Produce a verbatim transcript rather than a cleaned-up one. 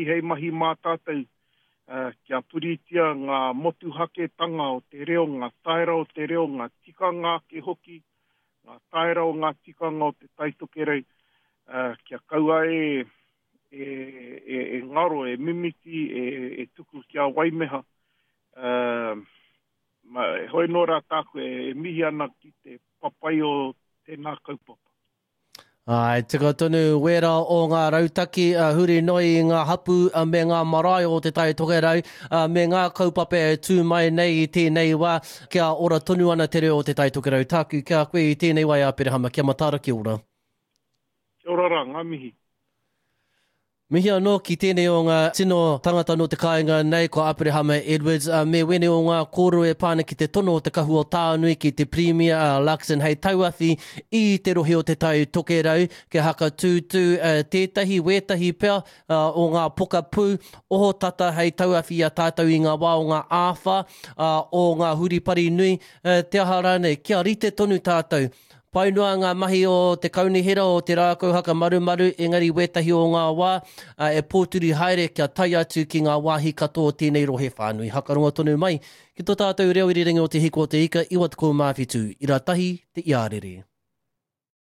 Hei mahi mā tātou kia puritia ngā motuhaketanga o te reo, ngā taera o te reo, ngā tikanga ake hoki, ngā taera o ngā tikanga o te Tai Tokerau, kia kaua e, e, e, e ngaro, e mimiti, e, e tuku kia waimeha. Uh, ma, hoi nō rā tāku e, e mihi ana ki te papai o tēnā kaupapa. Ai, tika tonu wērā o ngā rautaki uh, huri noi i ngā hapu uh, me ngā marae o te Tai Tokerau uh, me ngā kaupapa e tū mai nei i tēnei wā kia ora tonu ana te reo o te Tai Tokerau. Tāku kia koe i tēnei wā i Aperehama, kia mataara, kia ora. Kia ora rā, ngā mihi. Mihi anō ki tēnei o ngā tino tangata nō te kāinga nei, ko Aperehama Edwards, uh, me wēnei o ngā kōrero e pā ana ki te tono o te Kahu o Tānui ki te Pirimia uh, Luxon hei tauawhi i te rohe o te Tai Tokerau, kia hakatūtū uh, tētahi wētahi pea uh, o ngā pokapū ohotata hei tauawhi i a tātou i ngā wā o ngā āwhā, uh, o ngā huripari nui, uh, te aha rānei, kia rite tonu tātou. Pai noa ngā mahi o te kaunihera o te rākau haka marumaru, engari wētahi o ngā wā e pōturi haere kia tae atu ki ngā wāhi katoa o tēnei rohe whānui. Hakarongo tonu mai ki tō tātou reo irirangi o Te Hiku o Te Ika, iwa tekau mā whitu, ira tahi te iarere.